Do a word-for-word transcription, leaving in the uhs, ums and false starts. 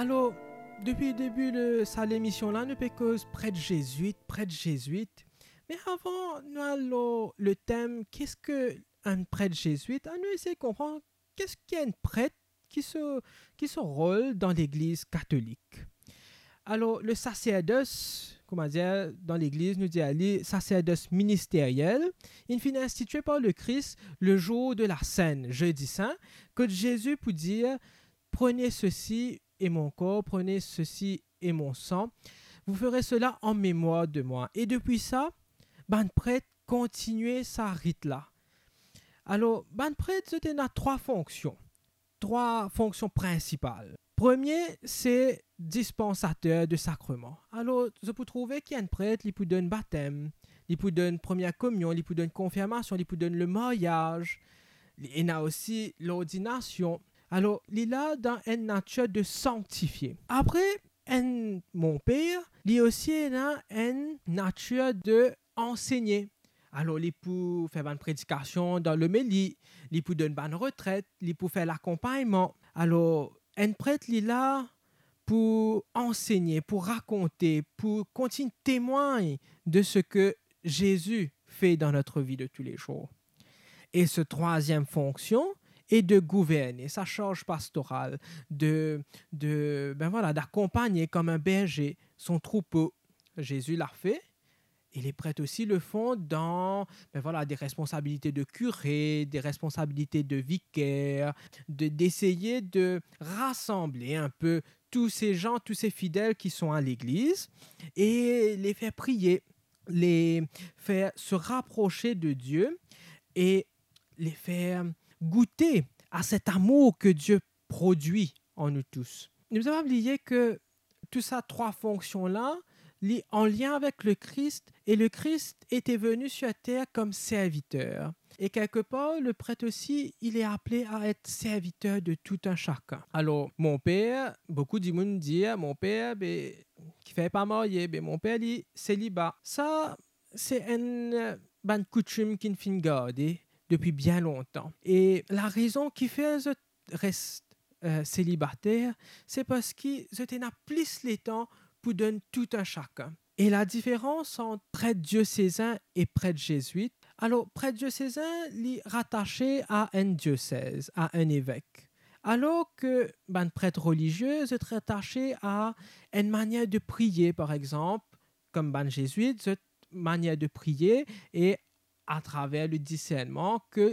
Alor, depi debi de sa lemision la, nou pe koz pret zezwit, pret zezwit. Me avan nou al lor le tem, ki eski enn pret zezwit, anou esey konpran ki eski enn pret, ki so, ki so rol dan Legliz Katolik. Alor, le saserdos, kouma dir, dan Legliz, nou dir li saserdos ministeriel, inn finn institie par Lekris le zour de la Senn, Zedi Sin, kot Zezi pou dir, "Prenez ceci est mon corps, prenez ceci est mon sang, vous ferez cela en mémoire de moi." E depi sa, bann pret kontinie sa rit la. Alor, bann pret, zot ena trwa fonksion, trwa fonksion prinsipal. Premie, se dispansater de sakreman. Alor, zot pou trouve ki enn pret, li pou donn batem, li pou donn premie komion, li pou donn konfirmasion, li pou donn lemaryaz, li ena osi lordinasion. Alor, li la dan enn natir de sanktifie. Apre, enn monper, li osi ena enn natir de ansegne. Alor, li pou fer bann predikasion dan lomeli, li pou donn bann retret, li pou fer lakonpagnman. Alor, enn pret, li la pou ansegne, pou rakonte, pou kontign temwagn de seki Zezi fer dan notre vie de tous les jours. E so trwaziem fonksion est de gouverner, sa sarz pastoral, de, de, ben voilà, d'akompagne comme un berger son troupeau. Zezi la fer, e les prêtres aussi le font dans, ben voilà, des responsabilités de curé, des responsabilités de vicaire, de, d'essayer de rassembler un peu tous ces gens, tous ces fidèles qui sont à l'église, et les faire prier, les faire se rapprocher de Dieu et les faire goûter à cet amour que Dieu produit en nous tous. Nou pa bliye ki tou sa trwa fonksion la, li an lien avek Lekris, e Lekris ete veni sir ter kom serviter. E kelkepar, le pret osi, il est appelé à être serviteur de tout un chacun. Alor, monper, boukou dimoun dir, monper, be, kifer pa marye, be, monper, li seliba. Sa, se enn, eh, bann koutim ki finn garde depi bien lontan. E larezon kifer zot res, eh, selibater, se parski zot ena plis letan pou donn tou enn sakenn. E ladiferans ant pret diosezin e pret zezwit, alor, pret diosezin, li ratase a enn diosez, a enn evek. Alor ki bann pret relizie, zot ratase a enn manier de priye, par exanp, kom bann zezwit, zot manier de priye e atraver le disernman ki